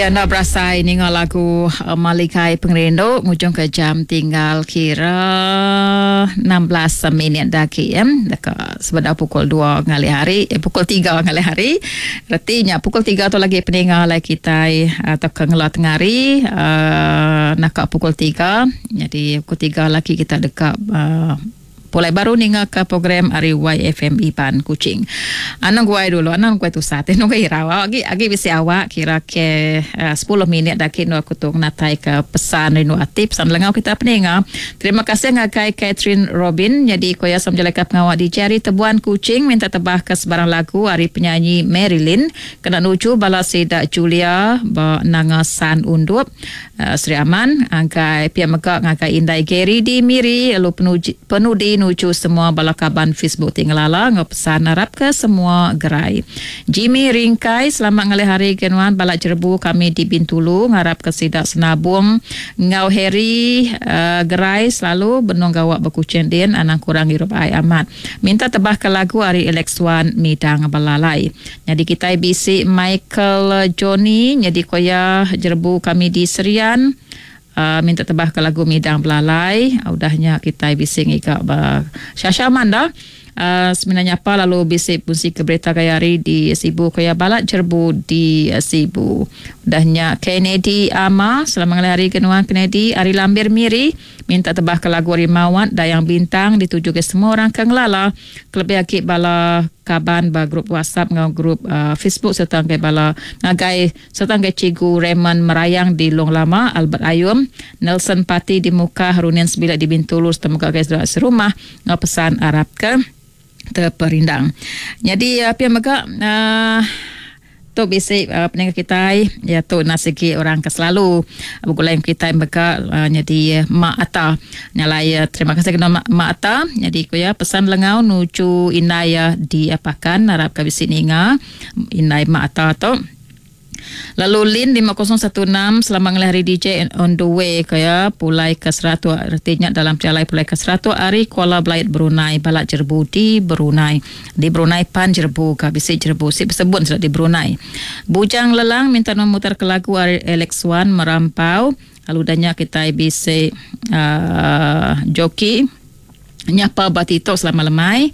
Enda berasai ninga lagu Malikai Pengerindu ngujung ke jam tinggal kira 16 minit da agi ya. Deka sebedau pukul 2 ngalih hari, eh, pukul 3 ngalih hari. Reti nya pukul 3 tu lagi peninga alai kitai tauka ngela tengah hari uh, naka pukul 3. Jadi pukul 3 lagi kita deka uh, Pulai baru ninga ka program ari YFM Iban Kuching. Anang guai dulu, anang guai tusah ti nunggu irau. Agi agi bisi awak kira ke uh, 10 minit da agi endur aku tu ngenatai ka pesan rindu ati, pesan lengau kita peninga. Terima kasih ngagai Catherine Robin nyadi ko iya sama bejalaika pengawa DJ ari Tebuan Kuching minta tebah ka sebarang lagu ari penyanyi Marilyn kena nuju bala sida Julia ba Nanga San Undup. Sri Aman, ngagai pia mega ngagai indai Gary di Miri lalu penudi nuju semua bala kaban Facebook ti ngelala enggau pesan arapka semua gerai. Jimmy Ringkai selamat ngalih hari ke nuan bala jerebu kami di Bintulu ngarapka sida Senabung enggau Harry gerai selalu benung gawa ba Kuching din anang kurang ngirup ai amat. Minta tebahka lagu ari Alex Wan Midang Belalai. Nyadi kitai bisi Michael Johnny nyadi ko iya jerebu kami di Serian minta tebah ke lagu Midang Belalai udah nya kitai bisi ngiga ba Shasha Manda semina nyapa lalu bisi punsi ke berita gaya hari di Sibu ko iya balat jerebu di Sibu. Udah nya Kennedy Ama selamat ngalih hari ke nuan Kennedy ari Lambir Miri minta tebah ke lagu ari Mawat Dayang Bintang dituju ke semua orang ke ngelala Kelebih agi bala kaban ba grup WhatsApp enggau grup Facebook sereta ngagai bala ngagai sereta ngagai Cikgu Raymond Merayang di Long Lama, Albert Ayum, Nelson Pati di Mukah, Runin Sebilik di Bintulu sereta mega ngagai sida serumah enggau pesan arapka teperindang. Nyadi pia mega uhh. Tu bisi peninga kitai iya tu enda sigi orang ke selalu begulai enggau kitai mega nyadi Mak Ata. Nya alai terima kasih kena Mak Ata nyadi ku iya pesan lengau nuju indai iya di Pakan arap ka bisi ninga indai Mak Ata tu. Lalu Lin 5016 selamat ngelih hari DJ on the way ku iya pulai ke Seratok reti nya dalam pejalai pulai ke Seratok ari Kuala Belait Brunei Balak Jerebu di Brunei. Di Brunei pan jerebu ka bisi jerebu si besebut sida di Brunei. Bujang Lelang minta nuan mutar ke lagu ari Alex Wan Merampau lalu udah nya kitai bisi uhh joki nyapa ba TikTok selama lemai.